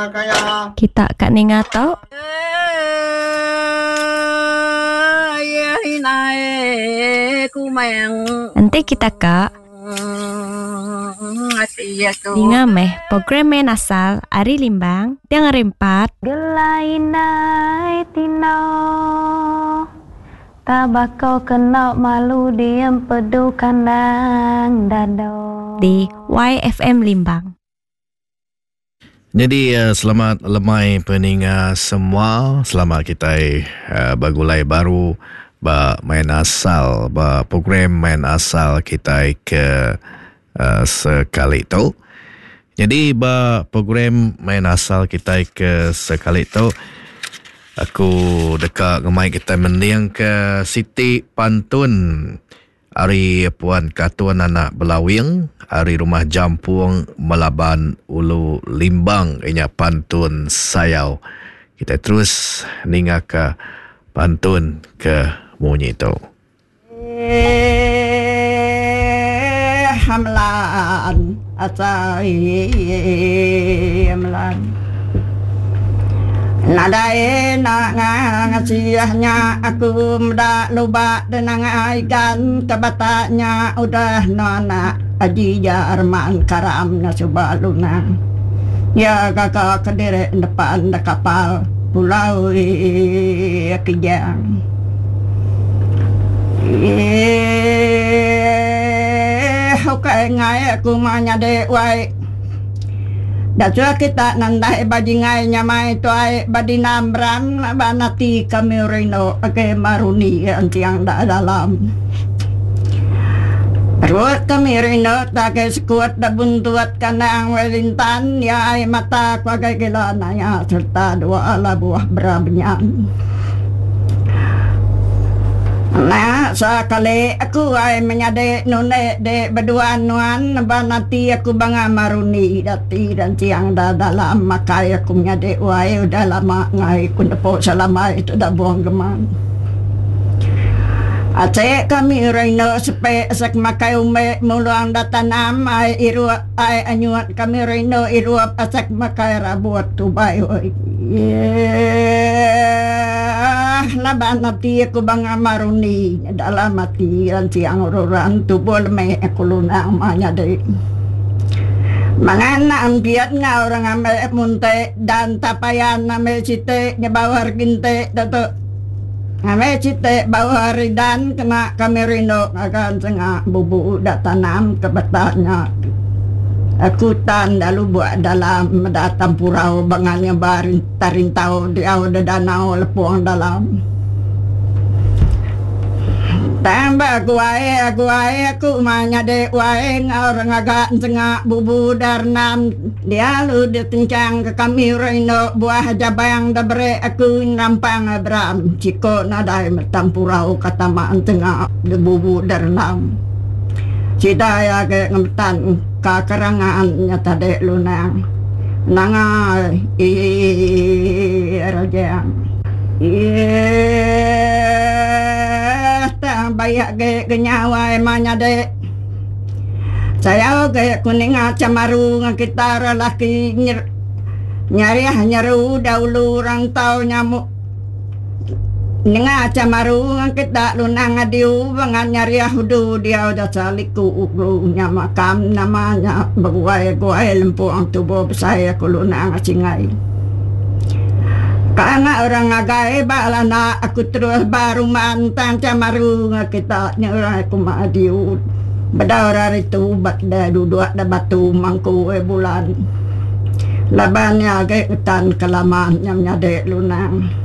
Kita ka ninga tu. Enti kita ka. Ninga meh program main asal ari Limbang tiang hari empat. Gelai indai tino Tabako kena malu diem pedu kandang dado. Di YFM Limbang. Nyadi selamat lemai peninga semua. Selamat kitai begulai baru ba main asal ba program main asal kitai ke sekali tu. Nyadi ba program main asal kitai ke sekali tu aku deka ngemai kitai mending ke siti pantun Ari Puan Katun anak Belawing ari Rumah Jampung Melaban Ulu Limbang inya pantun sayau. Kitai terus ningaka pantun ke munyi tu. Eh Hamlan asai Hamlan. Nadai enda ngasih nya aku meda luba denang ikan ke batak nya udah nuan anak Haji Jarman Karam nya suba lunang. Iya gaga kediri nepan da kapal Pulau Kijang. Eeh ukai enggai aku mah nyadi wai. Dasuh kita nandai ba jingai nyamai tuai ba dinam ram laban ati kami rindu agi maruni entiang da dalam. Perut kami rindu agi sekut da buntut kandang wai lintan iya ai mata ku agai gila naya sereta dua labuh bera benyan. Enda sekali aku ai menyadi nundi di beduan nuan ba nati aku banga maruni dati dan siang da dalam makai aku menyadi wai udah lama ngai ku nepu selamai tu da buong geman. Asik kami rindu sepi sek makai umbi mulung da tanam ai irup ai anyut kami rindu irup asek makai rabut tubai oi. Yeahh laban ati aku banga maruni dalam ati ransiang ruran tubuh lemi aku lunang ma nyadi. Mangan ampiat enggau orang ambi munti dan tapayan ambi siti nyebauh ginti tu. Ambi siti bauh ari dan kena kami rindu ngaga senga bubu da tanam ke beta nya. Aku tan da lubuk dalam meda tampurau bangan nyeba tarintau diau da danau lepung dalam. Tang ba guai guai aku mah nyadi wai enggau orang ngaga ensenga bubu da renam dia lalu ditenchang ka kami orang indu buah jabang da beri aku nerampang Abram siko nadai metam purau ka tama ensenga da bubu da renam. Sida iya agi ngemetan ka kerangan nya tadi lunang nanga ii rajang. Eeeh tang bayak agi ke nyawai ma nyadi. Sayau agi ku ninga chamaru ngan kita ra laki nyariah nyeru dahulu rantau nyamuk. Ninga chamaru ngan kita lunang adiu bangat nyariah udu diau dasa liku ulu nya makam nama nya beguai guai lempung tubuh besai aku lunang singai. Ka anak orang ngagai ba lana aku terus ba rumah tang chamaru ngan kita nya orang aku ma adiu bedau ra ritu ba da duduk da batu mangku bulan laban nya agi ngetan ke lama nya menyadi lunang.